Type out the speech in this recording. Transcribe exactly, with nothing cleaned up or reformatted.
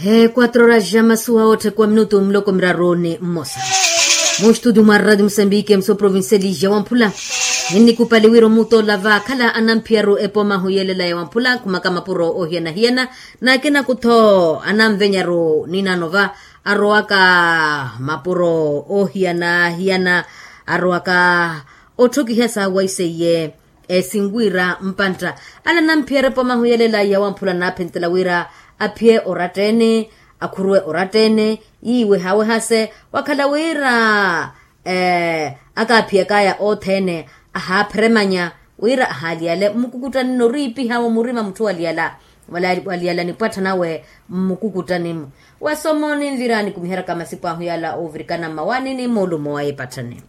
He quatro horas ja masuwa otthe kwa minutu muloko miraru ni mmosa. Mu studio mwa radio musambiki emuso provincial ja wamphula, ninnikupali wira omutola vakhala anamphiyaryu epomahu yelela ya wamphula khumaka mapuro ohiyana-hiyana. Nakina kutho anamvenyaru ninano va arowaka mapuro ohiyana-hiyana arowaka otthokiha sa waiseiye. Esinwira mpantta ale anamphiyaryu epomahu yelela ya wamphula naphentela wira aphiye oratta-ene, akhuruwe oratta-ene, yiiwe hawehase wakhala wira akaaphiyakaya othene ahaapheremanya wira ahaaliyale mmukukuttani noriipiha wa murima mutthu waliyala waliyala nipwattha nawe mmukukuttani-mu. Wesomo ninvira nikumiheryaka masipu ahu yala ovirikana mmawaani ni moolumo wa epatthani.